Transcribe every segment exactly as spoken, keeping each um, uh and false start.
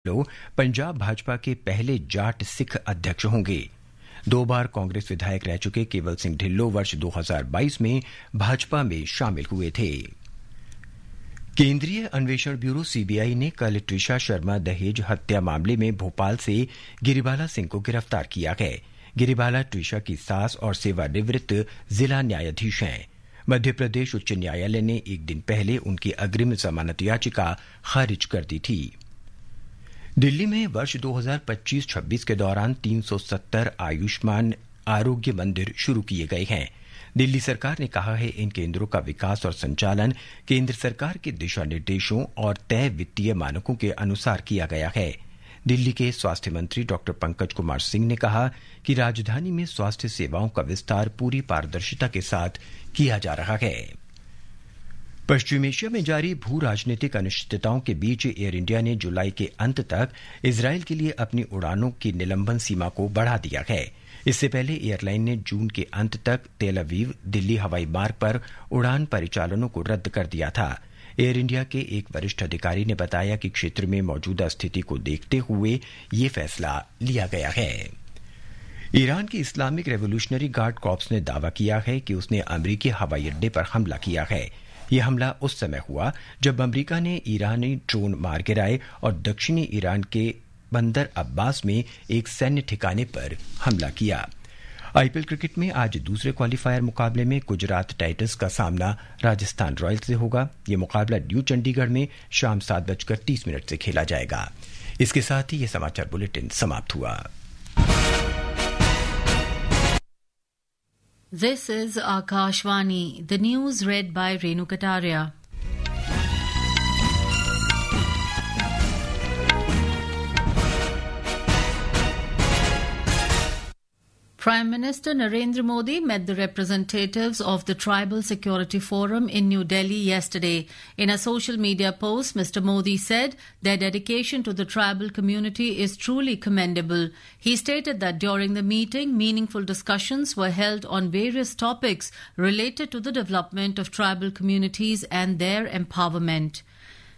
ढिल्लो पंजाब भाजपा के पहले जाट सिख अध्यक्ष होंगे। दो बार कांग्रेस विधायक रह चुके केवल सिंह ढिल्लो वर्ष दो हज़ार बाईस में भाजपा में शामिल हुए थे। केंद्रीय अन्वेषण ब्यूरो, सीबीआई, ने कल ट्रिशा शर्मा दहेज हत्या मामले में भोपाल से गिरिबाला सिंह को गिरफ्तार किया है। गिरिबाला ट्रिशा की सास और सेवानिवृत्त जिला न्यायाधीश हैं। मध्य प्रदेश उच्च न्यायालय ने एक दिन पहले उनकी अग्रिम जमानत याचिका खारिज कर दी थी। दिल्ली में वर्ष दो हज़ार पच्चीस छब्बीस के दौरान तीन सौ सत्तर आयुष्मान आरोग्य मंदिर शुरू किए गए हैं। दिल्ली सरकार ने कहा है, इन केंद्रों का विकास और संचालन केंद्र सरकार के दिशा निर्देशों और तय वित्तीय मानकों के अनुसार किया गया है। दिल्ली के स्वास्थ्य मंत्री डॉक्टर पंकज कुमार सिंह ने कहा कि राजधानी में स्वास्थ्य सेवाओं का विस्तार पूरी पारदर्शिता के साथ किया जा रहा है। पश्चिम एशिया में जारी भू राजनीतिक अनिश्चितताओं के बीच एयर इंडिया ने जुलाई के अंत तक इजरायल के लिए अपनी उड़ानों की निलंबन सीमा को बढ़ा दिया है। इससे पहले एयरलाइन ने जून के अंत तक तेल अवीव दिल्ली हवाई मार्ग पर उड़ान परिचालनों को रद्द कर दिया था। एयर इंडिया के एक वरिष्ठ अधिकारी ने बताया कि क्षेत्र में मौजूदा स्थिति को देखते हुए ये फैसला लिया गया है। ईरान की इस्लामिक रेवोल्यूशनरी गार्ड कॉर्प्स ने दावा किया है कि उसने अमेरिकी हवाई अड्डे पर हमला किया है। यह हमला उस समय हुआ, जब अमेरिका ने ईरानी ड्रोन मार गिराए और दक्षिणी ईरान के बंदर अब्बास में एक सैन्य ठिकाने पर हमला किया। आईपीएल क्रिकेट में आज दूसरे क्वालिफायर मुकाबले में गुजरात टाइटंस का सामना राजस्थान रॉयल्स से होगा। ये मुकाबला न्यू चंडीगढ़ में शाम सात बजकर तीस मिनट से खेला जाएगा। इसके साथ ही ये समाचार बुलेटिन समाप्त हुआ। This is Akashvani. The news read by Renu Kataria. Prime Minister Narendra Modi met the representatives of the Tribal Security Forum in New Delhi yesterday. In a social media post, Mister Modi said their dedication to the tribal community is truly commendable. He stated that during the meeting, meaningful discussions were held on various topics related to the development of tribal communities and their empowerment.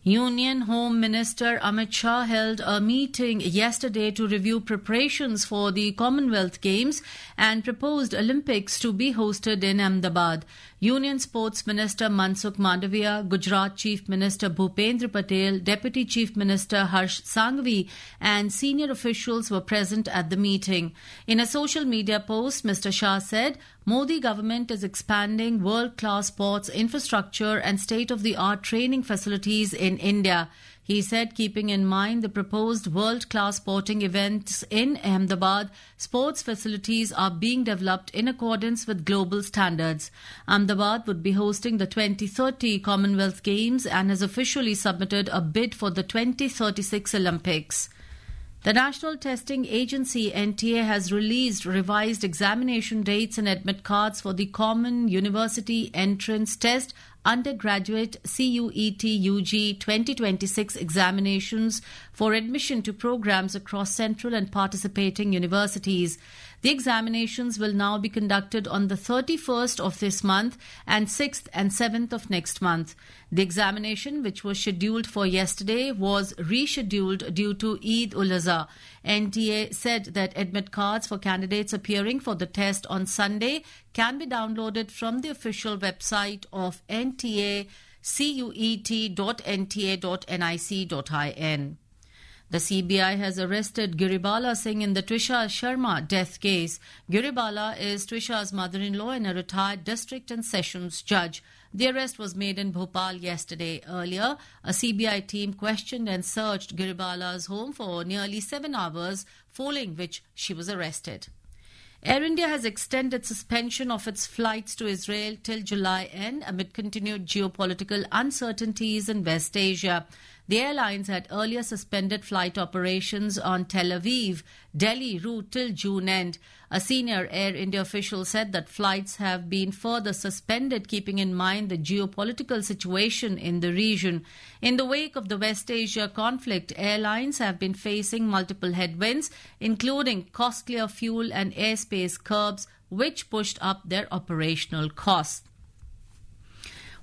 Union Home Minister Amit Shah held a meeting yesterday to review preparations for the Commonwealth Games and proposed Olympics to be hosted in Ahmedabad. Union Sports Minister Mansukh Mandaviya, Gujarat Chief Minister Bhupendra Patel, Deputy Chief Minister Harsh Sanghvi, and senior officials were present at the meeting. In a social media post, Mister Shah said, Modi government is expanding world-class sports infrastructure and state-of-the-art training facilities in India. He said, keeping in mind the proposed world-class sporting events in Ahmedabad, sports facilities are being developed in accordance with global standards. Ahmedabad would be hosting the twenty thirty Commonwealth Games and has officially submitted a bid for the twenty thirty-six Olympics. The National Testing Agency, N T A, has released revised examination dates and admit cards for the Common University Entrance Test Undergraduate C U E T U G twenty twenty-six examinations for admission to programs across central and participating universities. The examinations will now be conducted on the thirty-first of this month and sixth and seventh of next month. The examination, which was scheduled for yesterday, was rescheduled due to Eid ul-Adha. N T A said that admit cards for candidates appearing for the test on Sunday can be downloaded from the official website of N T A, cuet dot N T A dot N I C dot I N. The C B I has arrested Giribala Singh in the Trisha Sharma death case. Giribala is Trisha's mother-in-law and a retired district and sessions judge. The arrest was made in Bhopal yesterday. Earlier, a C B I team questioned and searched Giribala's home for nearly seven hours, following which she was arrested. Air India has extended suspension of its flights to Israel till July end amid continued geopolitical uncertainties in West Asia. The airlines had earlier suspended flight operations on Tel Aviv, Delhi route till June end. A senior Air India official said that flights have been further suspended, keeping in mind the geopolitical situation in the region. In the wake of the West Asia conflict, airlines have been facing multiple headwinds, including costlier fuel and airspace curbs, which pushed up their operational costs.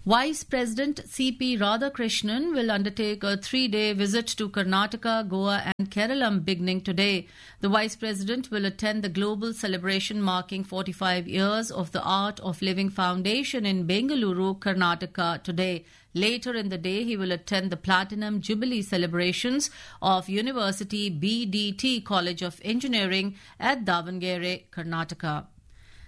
Vice President C P Radhakrishnan will undertake a three-day visit to Karnataka, Goa and Kerala beginning today. The Vice President will attend the global celebration marking forty-five years of the Art of Living Foundation in Bengaluru, Karnataka today. Later in the day, he will attend the Platinum Jubilee celebrations of University B D T College of Engineering at Davangere, Karnataka.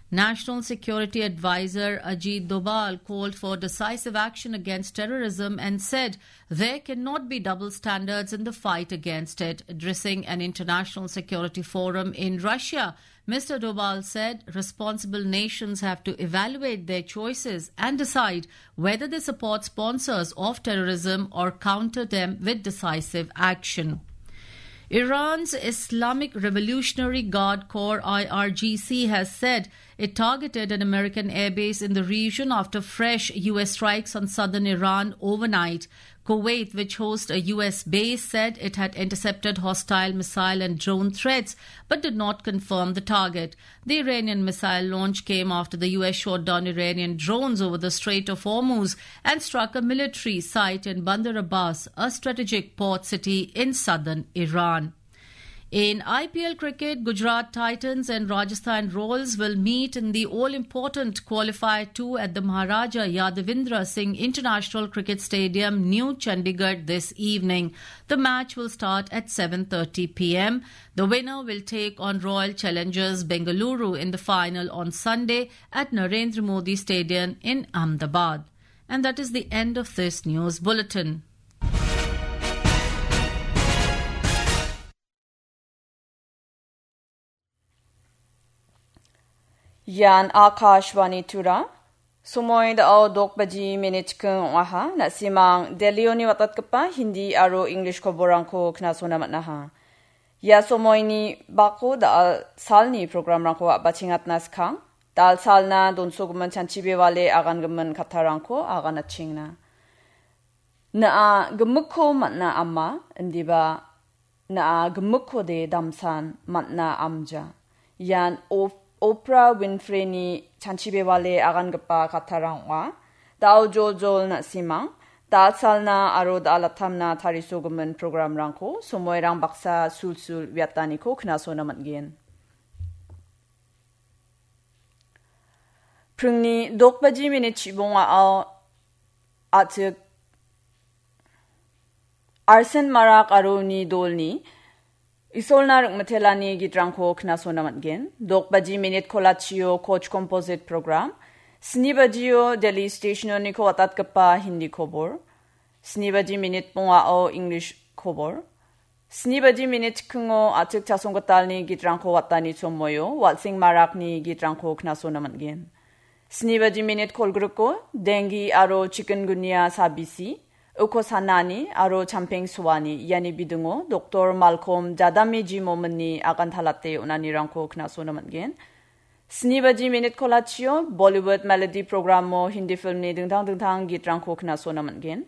National Security Advisor Ajit Doval called for decisive action against terrorism and said there cannot be double standards in the fight against it. Addressing an international security forum in Russia, Mister Doval said responsible nations have to evaluate their choices and decide whether they support sponsors of terrorism or counter them with decisive action. Iran's Islamic Revolutionary Guard Corps, I R G C, has said it targeted an American airbase in the region after fresh U S strikes on southern Iran overnight. Kuwait, which hosts a U S base, said it had intercepted hostile missile and drone threats but did not confirm the target. The Iranian missile launch came after the U S shot down Iranian drones over the Strait of Hormuz and struck a military site in Bandar Abbas, a strategic port city in southern Iran. In I P L cricket, Gujarat Titans and Rajasthan Royals will meet in the all-important Qualifier two at the Maharaja Yadavendra Singh International Cricket Stadium, New Chandigarh, this evening. The match will start at seven thirty p m. The winner will take on Royal Challengers Bengaluru in the final on Sunday at Narendra Modi Stadium in Ahmedabad. And that is the end of this news bulletin. Ian Akashvani Tura. Somoi da·o dok baji minit chikking ong·aha. Na·simang Delhioni watatgipa Hindi aro English koborrangko knasona man·aha. Ia somoini bako da·al salni programrangko a·bachengatna skang. Da·al salna donsogimin chanchi bewale agangimin kattarangko aganachengna. Na·a gimikko man·a ama, indiba na·a gimikkode damsan man·a amja. Ian Op-, Oprah Winfreyni chanchi bewale agangipa kattarang ong·a. Da·o joljol na·simang, da·al salna aro da·al atamna tarisogimin programrangko somoirang baksa sulsul uiataniko knasona man·gen. Pringni dok baji minit chibongao a·chik Arsen Marak aro uni dolni Isolna Rikmitelani gitrangko knasona man·gen. Dok baji minit kolachio Koch Composite Program. Sni bajio Delhi Stationoniko watatgipa Hindi kobor. Sni baji minit bongao English kobor. Sni baji minit chikkingo a·chik Chasonggitalni gitrangko watani somoio Walsing Marakni gitrangko knasona man·gen. Sni baji minit kolgriko dengi aro chikungunya sabisi, uko sanani aro champeng suani iani bidingo Doktor Malcolm Jadami Jimominni agantalate on·anirangko knasona man·gen. Sni baji minit kolachio Bollywood Melody Programo Hindi filmni dingtang dingtang gitrangko knasona man·gen.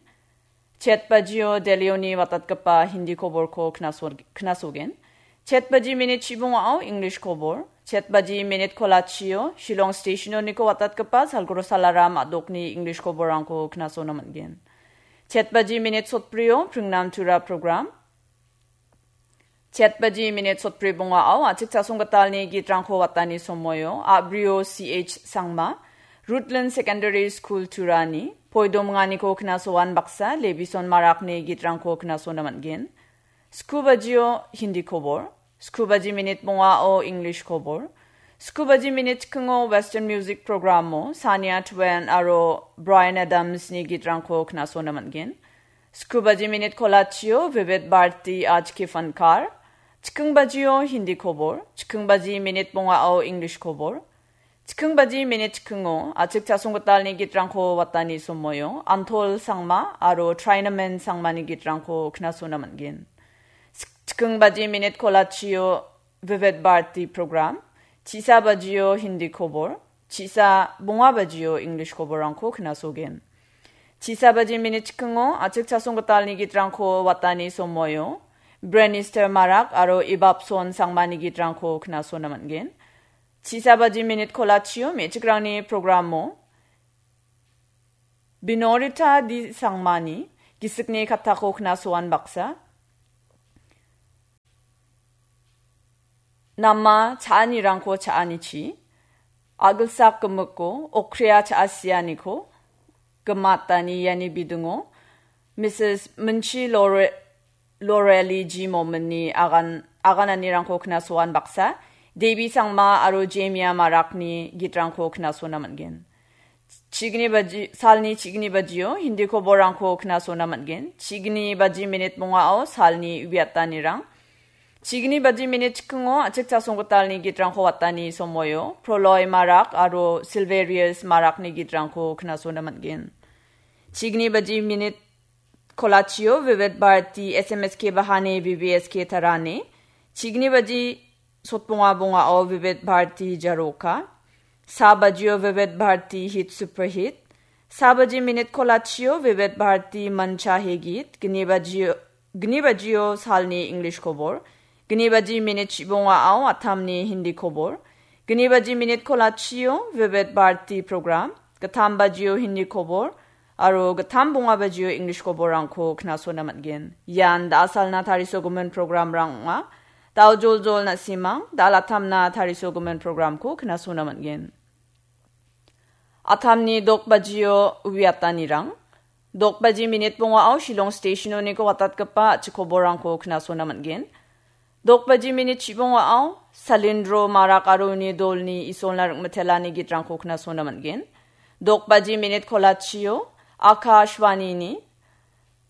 Chet bajio Delhioni watatgipa Hindi koborko knaso-, knasogen. Chet baji minit chibongao English kobor. Chet baji minit kolachio Shillong Stationoniko watatgipa Salguru Salaram a·dokni English koborrangko knasona man·gen. Chet baji minit sotbrio Pringnam Tura program. Chet baji minit sotbri bongao a·chik Chasonggitalni gitrangko watani somoio a·brio C H Sangma, Rutland Secondary School Turani, poidominganiko knasoan baksa Levison Marakni gitrangko knasona man·gen. Sku bajio Hindi kobor, sku baji minit bongao English kobor, sku baji minit chikkingo Western Music Programo Shania Twain aro Bryan Adamsni gitrangko knasona man·gen. Sku baji minit kolachio Vivid Bharati Aaj Ki Fankar. Chikking bajio Hindi kobor. Chikking baji minit bongao English kobor. Chikking baji minit chikkingo a·chik Chasonggitalni gitrangko watani somoio Anthol Sangma aro Trinamen Sangmani gitrangko knasona man·gen. Chik-, chikking baji minit kolachio Vivid Bharati program. Chisa bajio Hindi kobor. Chisa bonga bajio English koborrangko knasogen. Chisa baji minit chikkingo a·chik Chasonggitalni gitrangko watani somoio Brenister Marak aro Ibapson Sangmani gitrangko knasona man·gen. Chisa baji minit kolachio me·chikrangni programo Binorita D Sangmani gisikni kattako knasoan baksa. Nama cha·anirangko cha·anichi, agilsak gimikko, okria cha·asianiko gimatani iani bidingo, Missus Minchi Lore-, Loreli G Mominni agan-, agananirangko knasoan baksa, Devi Sangma aro Jemia Marakni gitrangko knasona man·gen. Chigni baji, salni chigni bajio Hindi koborrangko knasona man·gen. Chigni baji minit bongao salni uiatanirang. Chigni baji minit chikingo a·chik chasonggitalni gitrangko watani somoio Proloy Marak aro Silverius Marakni gitrangko knasona man·gen. Chigni baji minit kolachio Vivid Bharati S M S K Bahane V V S K Tarane. Chigni baji sotbonga bongao Vivid Bharati Jaroka. Sa bajio Vivid Bharati Hit Super Hit. Sa baji minit kolachio Vivid Bharati Mancha Hegit. Gni bajio, gni bajio salni English kobor. Gni baji minit chibongao Athamni Hindi kobor. Gni baji minit kolachio Vivid Bharati program. Gittam bajio Hindi kobor. Aro gittam bonga bajio English koborrangko knasona man·gen. Ian da·asalna tarisogimin programrang ong·a. Dao joljol na·simang, da·alatamna tarisogimin programko knasona man·gen. Atamni dok bajio uiatanirang. Dok baji minit bongao Shillong Stationoniko watatgipa a·chik koborrangko knasona man·gen. Dok baji minit chibongao Salindro Marak aro uni dolni Isolna Ringmitelani gitrangko knasona man·gen. Dok baji minit kolachio Akashvanini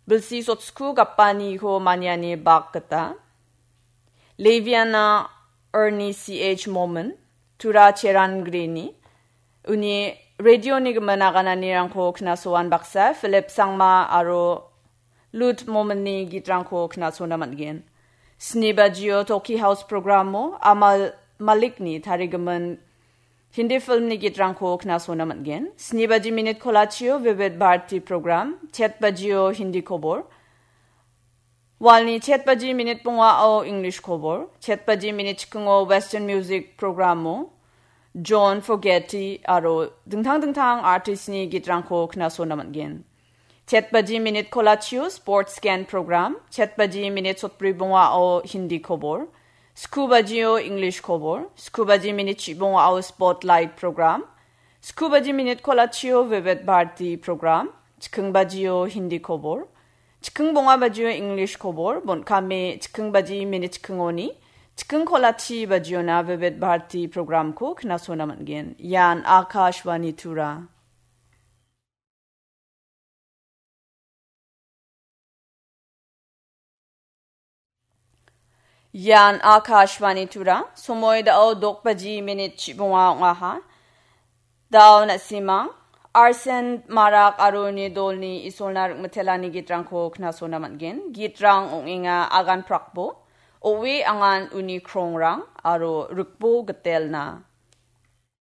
bilsi sotsku gapaniko maniani bak gita Leviana Ernie C H Momin, Tura Cheran Grini, uni radioni gimin agananirangko knasoan baksa Philip Sangma aro Lut Mominni gitrangko knasona man·gen. Sni bajio Toki House programo Amal Malikni tarigimin Hindi filmni gitrangko knasona man·gen. Sni baji minit kolachio Vivid Bharati program, chet bajio Hindi kobor. Walni chet baji minit bongao English kobor, chet baji minit chikingo Western music programo John Fogerty aro dingtang dingtang artistni gitrangko knasona man·gen. Chet baji minit kolachio sports scan program, chet baji minit sotbri bongao Hindi kobor, sku bajio English kobor, sku baji minit chibongao spotlight program, sku baji minit kolachio Vivid Bharati program, chiking bajio Hindi kobor, chiking bonga bajio English kobor, bon·kame chiking baji minit chikingoni, chiking kolachi bajiona Vivid Bharati programko knasona man·gen. Ian Akashvani Tura. Ian Akashvani Tura, somoi dao dok baji minit chibonga ong·aha. Dao na·simang, Arsen Marak aro uni dolni Isolna Ringmitelani gitrangko knasona man·gen. Gitrang ong·enga Agan Prakbo, Owe Angan uni Krongrang aro Rikbo Gitelna.